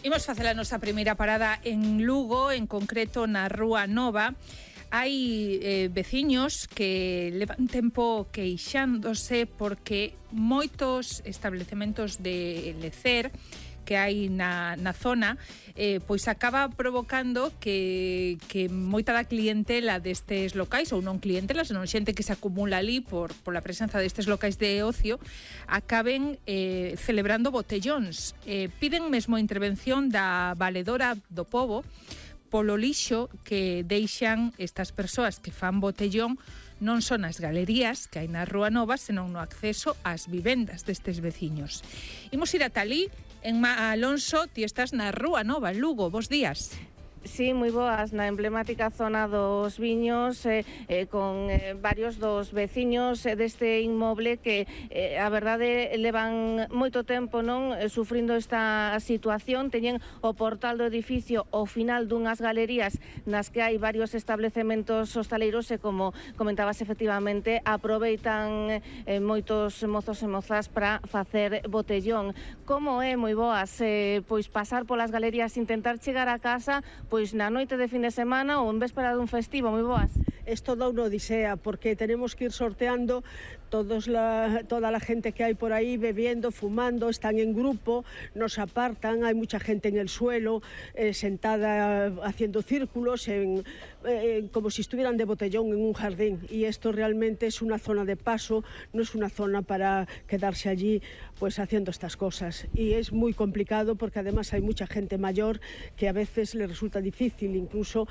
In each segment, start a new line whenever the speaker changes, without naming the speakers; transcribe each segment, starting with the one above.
Imos facer a nosa primeira parada en Lugo, en concreto na Rúa Nova. Hai veciños que levan tempo queixándose porque moitos establecementos de lecer que hai na zona pois acaba provocando que moita da clientela destes locais, ou non clientela, senón xente que se acumula ali pola presenza destes locais de ocio, acaben celebrando botellóns. Piden mesmo intervención da valedora do pobo polo lixo que deixan estas persoas que fan botellón non son as galerías que hai na Rúa Nova, senón no acceso ás vivendas destes veciños. Imos ir ata ali. En Alonso, ti estás na Rúa Nova, en Lugo. Bos días.
Sí, moi boas, na emblemática zona dos Viños, con varios dos veciños deste inmoble que, a verdade, levan moito tempo sufrindo esta situación. Teñen o portal do edificio ao final dunhas galerías nas que hai varios establecementos hostaleiros e, como comentabas, efectivamente, aproveitan moitos mozos e mozas para facer botellón. Como é, moi boas, pois pasar polas galerías, intentar chegar a casa, pois na noite de fin de semana ou en véspera dun festivo. Moi boas.
Es toda unha odisea porque tenemos que ir sorteando toda la gente que hay por ahí bebiendo, fumando, están en grupo, nos apartan, hay mucha gente en el suelo, sentada haciendo círculos, como si estuvieran de botellón en un jardín, y esto realmente es una zona de paso, no es una zona para quedarse allí pues haciendo estas cosas, y es muy complicado porque además hay mucha gente mayor que a veces le resulta difícil, incluso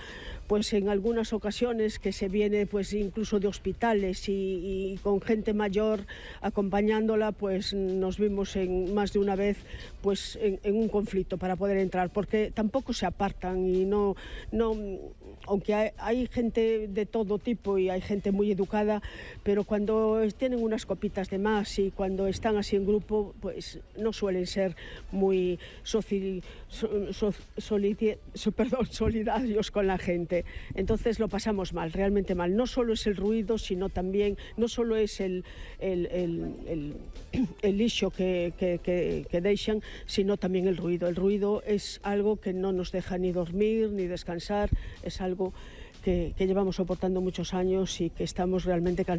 pues en algunas ocasiones que se viene pues incluso de hospitales y con gente mayor acompañándola, pues nos vimos en más de una vez pues en un conflicto para poder entrar, porque tampoco se apartan y no aunque hay gente de todo tipo y hay gente muy educada, pero cuando tienen unas copitas de más y cuando están así en grupo, pues no suelen ser muy solidarios con la gente. Entonces lo pasamos mal, realmente mal. No solo es el ruido, sino también, no solo es el lixo que deixan, sino también el ruido. El ruido es algo que no nos deja ni dormir ni descansar, es algo que llevamos soportando muchos años y que estamos realmente cansados.